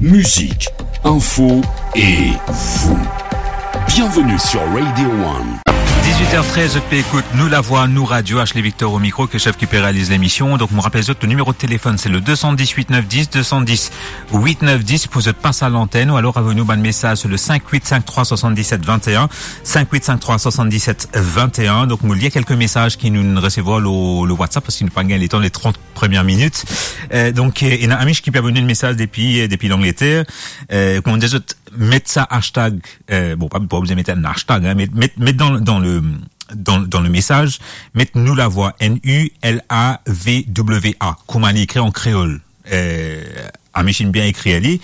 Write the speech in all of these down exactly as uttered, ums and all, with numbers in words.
Musique, info et vous. Bienvenue sur Radio One. Dix-huit heures treize, zot pe ekout Nou Lavwa, Nou Radio, Ashley Victor au micro, Kechef ki pe realiz lemision. Donk, mo rapel zot, le nimero de telefon, se le deux cent dix-huit neuf dix, deux cent dix-huit neuf dix, pou zot pas a lantenn, ou alor avoy nou bann mesaz sir le cinq huit cinq trois soixante-dix-sept vingt et un, cinq huit cinq trois soixante-dix-sept vingt et un. Donk, mo lir kelke mesaz ki nou resevwar lor, lor WhatsApp, parski nou pa gagn letan, le trente première minute. Euh, donk, euh, ena Amish ki pe avoy nou enn mesaz depi, euh, depi Langleter. Euh, kouma dir zot, met sa hashtag, euh, bon, pa, pa bizin met enn hashtag, hein, met, met, met dan, dan le, dan, dan le mesaz, met Nou Lavwa, N U L A V W A, kouma li ekrir an kreol. Euh, Amish inn bien ekrir li.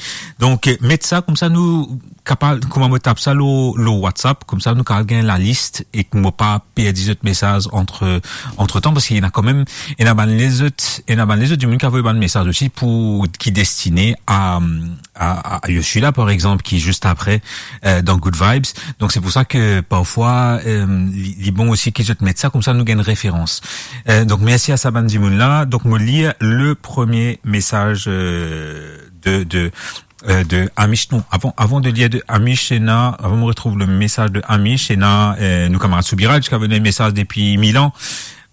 Donk, euh, met sa, koumsa nou kapav, kouma mo tap sa lor, lor WhatsApp, koumsa nou kapav gagn lalis e ki mo pa perdi zot mesaz antre, antretan, parski ena kanmem, ena bann lezot, ena bann lezot dimoun ki avoy bann mesaz osi pou, ki destine a, a, a, a Ursula, par exanp, ki zis apre, euh, dan Good Vibes. Donk, se pou sa ki parfwa, euh, li, li bon osi ki zot met sa, koumsa nou gagn referans. Euh, donk, mersi a sa bann dimoun la. Donk, mo lir le premie mesaz, euh, de, de, euh, de Amish. Non, avan, avan de lir de Amish, ena, avan mo retrouv le mesaz de Amish, ena, euh, nou kamarad Soubiraj ki avoy nou enn mesaz depi Milan.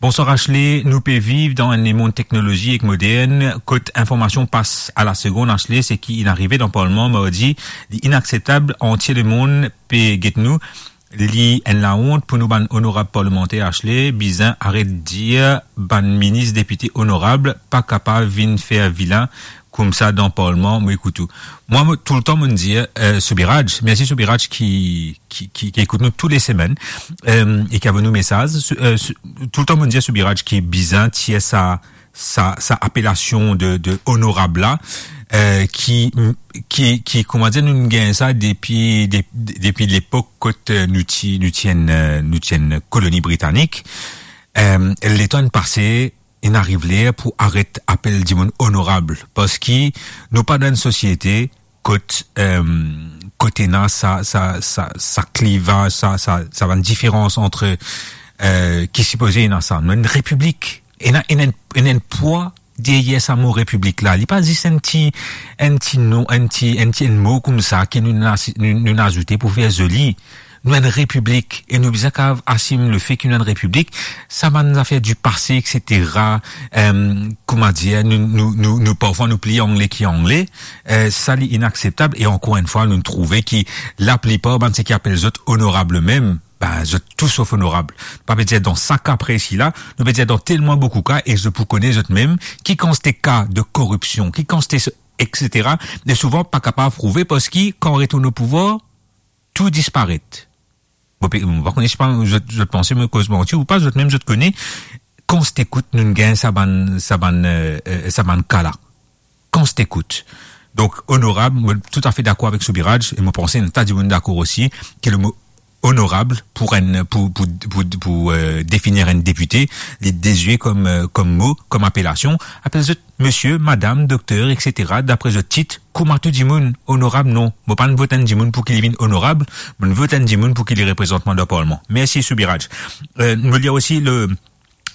Bonswar Ashley, nou pe viv dan enn lemond teknolozi ek modern, kot informasion pas a la segonn, Ashley, seki inn arive dan parlman mardi, li inakseptab, antie lemond pe get nou, li enn laont pou nou bann onorab parlemanter, Ashley, bizin aret dir bann minis, depite, onorab, pa kapav vinn fer vilin koumsa dan parlman, mo ekout ou. Mwa, mo, toultan, mo'nn dir, euh, Soubiraj, mersi Soubiraj ki, ki, ki, ki ekout nou tou le semenn, euh, e ki avoy nou mesaz. Sou, euh, sou, toultan, mo'nn dir Soubiraj ki bizin tir sa, sa, sa apelasion de, de onorab la, euh, ki, ki, ki, kouma dir, nou gagn sa depi, de, de, depi lepok kot, euh, nou ti, nou ti enn, euh, nou ti enn koloni britanik. Euh, letan inn pase, inn ariv ler pou aret apel dimoun onorab, parski nou pa dan enn sosiete kot, euh, kot ena sa, sa, sa, sa kliva, sa, sa, sa bann diferans antre, euh, ki sipoze ena sa. Nou enn repiblik, ena, ena enn, ena enn pwa deryer sa mo repiblik la. Li pa zis enn ti, enn ti non, enn ti, enn ti, enn mo koumsa ki nou, nou, nou azoute pou fer zoli. Nou enn repiblik e nou bizin kapav asim lefe ki nou enn repiblik. Sa bann zafer di pase, et cetera, euh, kouma dir, nou, nou, nou, nou, parfwa nou pli angle ki angle, euh, sa li inakseptab. E ankor enn fwa, nou trouve ki laplipar bann seki apel zot onorab mem, ben, zot tou sof onorab. Pa pe dir dan sa ka presi la, nou pe dir dan telman boukou ka, e zot pou kone zot mem, ki kantite ka de koripsion, ki kantite, et cetera. E souvan pa kapav prouve, parski kan retourn o pouvwar, tou disparet. Mo pe, mo pa kone, sipa zot, zot panse mo koz manti ou pa, zot mem zot kone, kantite kout nou gagn sa bann, sa bann, euh, euh, sa bann ka la. Kantite kout. Donk, onorab, mo toutafe dakor avek Soubiraj, e mo panse enn ta dimoun dakor osi, ki le mo onorab pou enn, pou, pou, pou, pou, euh, definir enn depite, li dezwe kom, euh, kom mo, kom apelasion, apel zot mesie, madam, dokter, et cetera, dapre zot tit, kouma tou dimoun. Onorab, non. Mo pa'nn vot enn dimoun pou ki li vinn onorab, mo'nn vot enn dimoun pou ki li reprezant mwa dan parlman. Mersi, Soubiraj. Euh, mo lir osi le,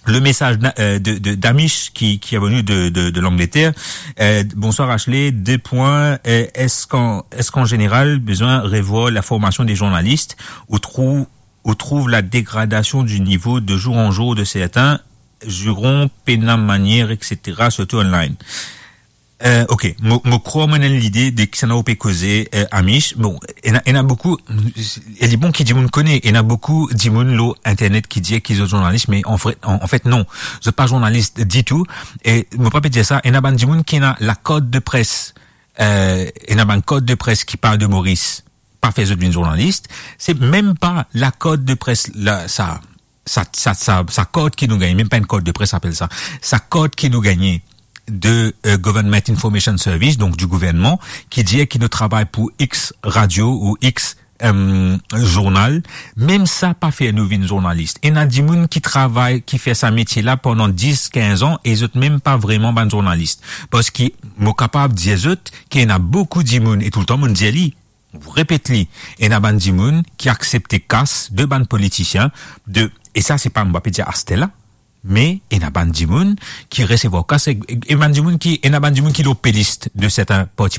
le mesaz na-, euh, de, de, d'Amish ki, ki avoy nou de, de, de Langleter. Euh, bonswar Ashley, de pwin, euh, eski an, eski an zeneral bizin revwar laformasion de zournalis, ou trouv, ou trouv la degradasion di nivo de zour an zour de sertin, ziron pena manier, et cetera, sirtou online. Euh, ok, mo, mo krwar mo ena enn lide de kisannla ou pe koze, euh, Amish. Bon, ena, ena boukou, e li bon ki dimoun kone, ena boukou dimoun lor internet ki dir ki zot zournalis, me anfet, an, anfet non, zot pa zournalis ditou. E mo pa pe dir sa, ena bann dimoun ki ena lakart de pres, euh, ena bann kart de pres ki parl de Moris, pa fer zot vinn zournalis. Se mem pa lakart de pres la, sa, sa, sa, sa, sa kart ki nou gagne, mem pa enn kart de pres apel sa, sa kart ki nou gagne de, euh, Government Information Service, donk di gouvernman, ki dir ki nou travay pou X radio ou X, euh, zournal, mem sa pa fer nou vinn zournalis. Ena dimoun ki travay, ki fer sa metie la pandan dis, kinz an, e zot mem pa vreman bann zournalis. Parski mo kapav dir zot ki ena boukou dimoun, e toultan mo'nn dir li, repet li, ena bann dimoun ki aksepte kas de bann politisien, de, e sa se pa, mo pa pe dir aster la, me ena bann dimoun ki resevwar kas, e, e bann dimoun ki, ena bann dimoun ki lor pelist de sertin parti